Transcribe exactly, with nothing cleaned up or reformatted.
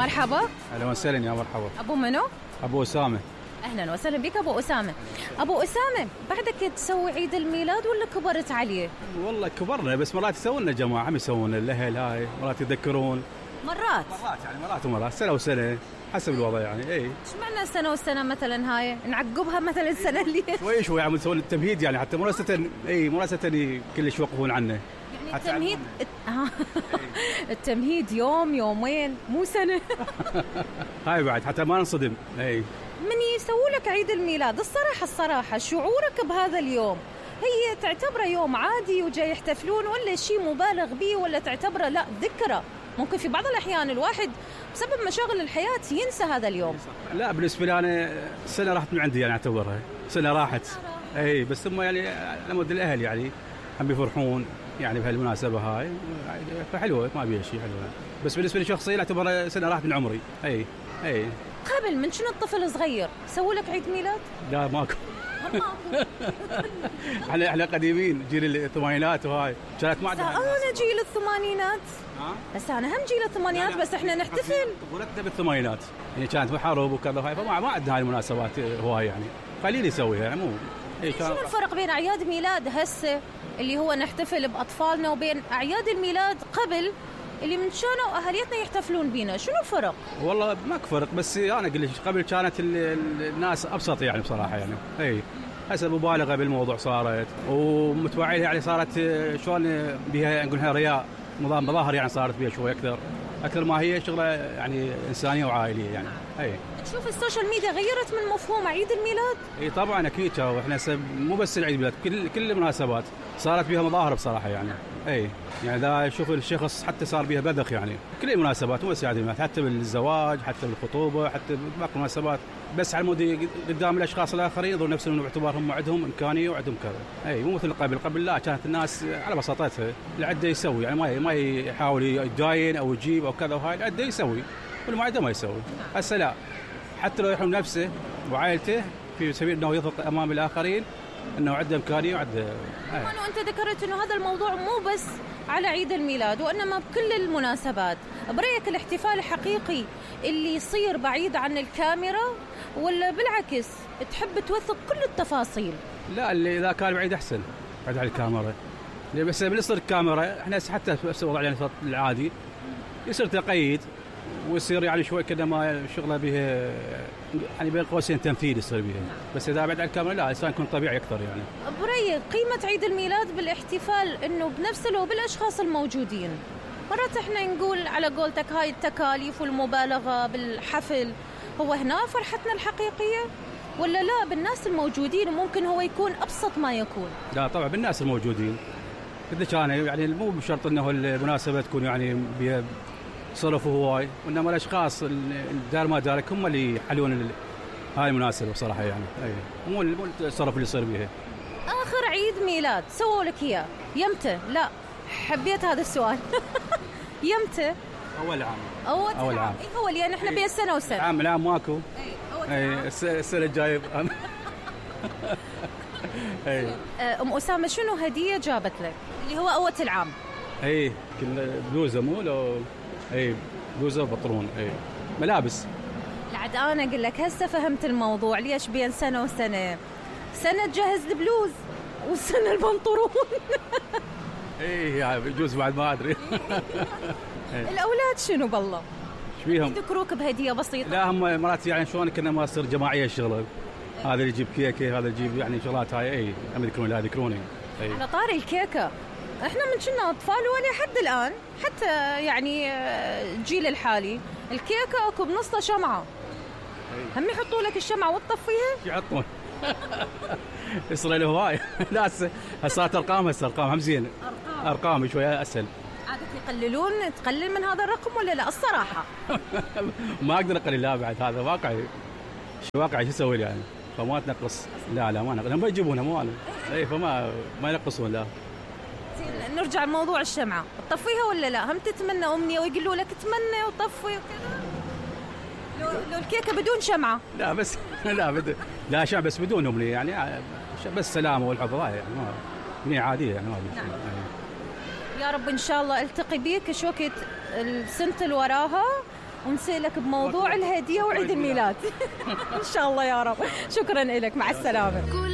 مرحبا. اهلا وسهلا يا مرحبا. ابو منو؟ ابو اسامه. اهلا وسهلا بك ابو اسامه. ابو اسامه بعدك تسوي عيد الميلاد ولا كبرت عليه؟ والله كبرنا بس مرات يسوون جماعه هم يسوون الاهل هاي مرات يذكرون. مرات مرات يعني مرات ومرات سنه وسنه حسب الوضع يعني. اي ايش معنى سنه وسنه مثلا هاي نعقبها مثلا سنه اللي شوي شوي عم يسوون التمهيد يعني حتى مراسة اي مراسة كلش يوقفون عنه يعني التمهيد التمهيد يوم يومين مو سنه. هاي بعد حتى ما نصدم. اي من يسووا لك عيد الميلاد الصراحه الصراحه شعورك بهذا اليوم هي تعتبره يوم عادي وجاي يحتفلون ولا شيء مبالغ به ولا تعتبره لا ذكرى؟ ممكن في بعض الأحيان الواحد بسبب مشاغل الحياة ينسى هذا اليوم. لا بالنسبة لي أنا سنة راحت من عندي يعني أعتبرها سنة راحت. أي بس ثم يعني لمد الأهل يعني هم بيفرحون يعني بهالمناسبة هاي فحلوة ما بيها شيء حلوة. بس بالنسبة لي شخصيا أعتبرها سنة راحت من عمري. أي أي قبل من شنو الطفل صغير سووا لك عيد ميلاد؟ لا ماكو. احنا احنا قديمين جيل الثمانينات وهاي كانت ما عندنا. انا جيل الثمانينات. بس انا هم جيل الثمانينات بس احنا نحتفل. ولدنا بالثمانينات يعني كانت حرب وكذا هاي فما ما عندنا هاي المناسبات هواي يعني خليني اسويها يعني مو. شنو الفرق بين اعياد ميلاد هسه اللي هو نحتفل باطفالنا وبين اعياد الميلاد قبل اللي من شانوا اهاليتنا يحتفلون بينا؟ شنو الفرق؟ والله ماك فرق بس انا اقول لك قبل كانت الناس ابسط يعني بصراحه يعني. اي هسه مبالغه بالموضوع صارت ومتوعيه يعني صارت شلون بها نقولها رياء نظام مظاهر يعني صارت بها شوي اكثر اكثر ما هي شغله يعني انسانيه وعائليه يعني. اي تشوف السوشيال ميديا غيرت من مفهوم عيد الميلاد؟ اي طبعا اكيد احنا مو بس العيد الميلاد كل كل المناسبات صارت بها مظاهر بصراحه يعني. اي يعني ذا شوف الشخص حتى صار بها بذخ يعني كل المناسبات مو بس عيد الميلاد حتى بالزواج حتى بالخطوبه حتى باقي المناسبات بس على مود قدام الاشخاص الاخرين يظهرون نفسهم باعتبارهم عندهم امكانيه وعندهم كذا. اي مو مثل قبل قبل لا كانت الناس على بساطتها العده يسوي يعني ما ما يحاول يداين او يجيب او كذا وهاي العده يسوي واللي ما عنده ما يسوي. هسه لا حتى لو يحرم نفسه وعائلته في سبيل انه يظهر امام الاخرين انه عنده امكانيه وعنده. أنا وانت ذكرت انه هذا الموضوع مو بس على عيد الميلاد وانما بكل المناسبات. برايك الاحتفال الحقيقي اللي يصير بعيد عن الكاميرا ولا بالعكس تحب توثق كل التفاصيل؟ لا اللي اذا كان بعيد احسن بعيد عن الكاميرا. بس بالنسبه للكاميرا احنا حتى في الوضع يعني العادي يصير تقييد ويصير يعني شوي كذا ما شغله به يعني بين قوسين تمثيل يصير به. بس اذا بعد عن الكاميرا لا الانسان يكون طبيعي اكثر يعني. برايك قيمه عيد الميلاد بالاحتفال انه بنفسه لو بالاشخاص الموجودين؟ مرات احنا نقول على قولتك هاي التكاليف والمبالغه بالحفل هو هنا فرحتنا الحقيقيه ولا لا بالناس الموجودين ممكن هو يكون ابسط ما يكون؟ لا طبعا بالناس الموجودين اذا كان يعني مو بشرط انه المناسبه تكون يعني صرفوا هواي وانما الاشخاص الدار ما دارك هم اللي يحلون هاي المناسبه بصراحه يعني. اي مو مو الصرف اللي يصير بيها. اخر عيد ميلاد سووا لك اياه يمتى؟ لا حبيت هذا السؤال. يمتى؟ اول عام. اول, أول عام. اي اول يعني احنا بين سنه وسنه. العام العام ماكو. اي اول اي السنه الجايه. اي ام اسامه شنو هديه جابت لك اللي هو اول العام؟ اي كنا بلوزه مو لو اي بلوزه وبطرون. اي ملابس. لعد انا اقول لك هسه فهمت الموضوع ليش بين سنه وسنه. سنه تجهز البلوز والسنه البنطلون. اي يعني بجوز بعد ما ادري. الاولاد شنو بالله ايش فيهم يذكروك بهديه بسيطه؟ لا هم مرات يعني شلون كنا ما تصير جماعيه الشغله. هذا اللي يجيب كيكه هذا يجيب يعني شغلات هاي. اي هم يذكرون لا يذكروني. على طاري الكيكه احنا من كنا اطفال ولحد الان حتى يعني الجيل الحالي الكيكه اكو بنصها شمعه. هم يحطوا لك الشمعه وتطفيها يحطون. يصير له هواي. لا هسه ارقام هسه ارقام هم زين ارقام ارقام شويه اسهل. عادة يقللون تقلل من هذا الرقم ولا لا؟ الصراحه ما اقدر اقلل لا بعد هذا واقعي. شو واقعي شو اسوي يعني فما تنقص. لا لا ما نقص هم يجيبونها مو انا. اي فما ما ينقصون لا. نرجع لموضوع الشمعة تطفيها ولا لا؟ هم تتمنى أمنية ويقولوا لك تمنى وطفي وكذا لو, لو الكيكة بدون شمعة؟ لا بس لا بدون لا شمعة بس بدون أمنية يعني بس سلامة والحب يعني ما أمنية عادية يعني ما نعم. يا رب إن شاء الله التقي بيك شوكة السنة اللي وراها ونسألك بموضوع الهدية وعيد الميلاد. إن شاء الله يا رب. شكرا لك، مع السلامة.